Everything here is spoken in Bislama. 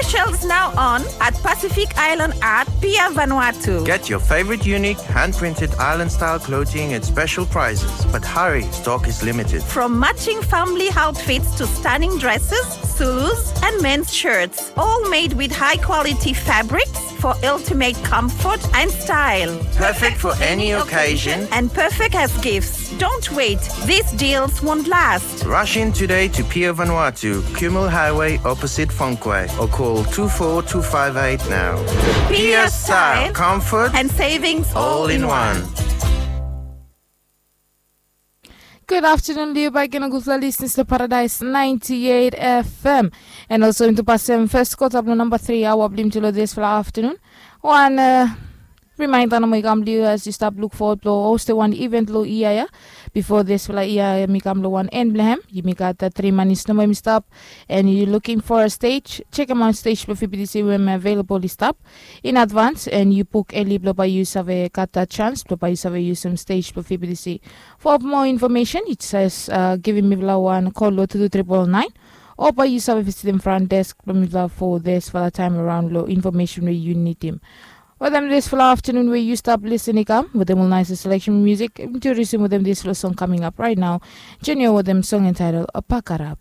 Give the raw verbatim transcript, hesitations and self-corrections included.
Shells now on at Pacific Island Art, Pier Vanuatu. Get your favorite unique hand-printed island-style clothing at special prices, but hurry, stock is limited. From matching family outfits to stunning dresses, Zulus, and men's shirts, all made with high-quality fabrics for ultimate comfort and style. Perfect for any occasion and perfect as gifts. Don't wait, these deals won't last. Rush in today to Pier Vanuatu, Kumul Highway, opposite Fonquay, or call two four two five eight now. Pier style, comfort, and savings all in one. Gud aftenun long yu bakegen, gudfala listeners long Paradise ninety-eight F M. And also yumi tu pasem fes kota blong namba tri aoa blong yumi tu long disfala aftenun. Wan rimainda nomo i kam long yu as yu stap luk fowod blong hostem wan event long yia ya. Bifo disfala yia ya i kam long wan en blong hem, yumi gat tri manis nomo yumi stap. And yu luking for a stage, sekemaot stage blong F B T C we hem available i stap in advance, and yu buk eli blong bae yu save gat dat chance blong bae yu save yusum stage blong F B T C. For more information, yu jes givim mifala wan kol long two two triple nine, o bae yu save visitim front desk blong mifala for disfala taem araon long information we yu nidim. Wetem disfala aftenun we yu stap lisin i kam wetem ol naes selection musik, yumi tu risim wetem disfala song coming up right now. Junior wetem song entitled Pakarap.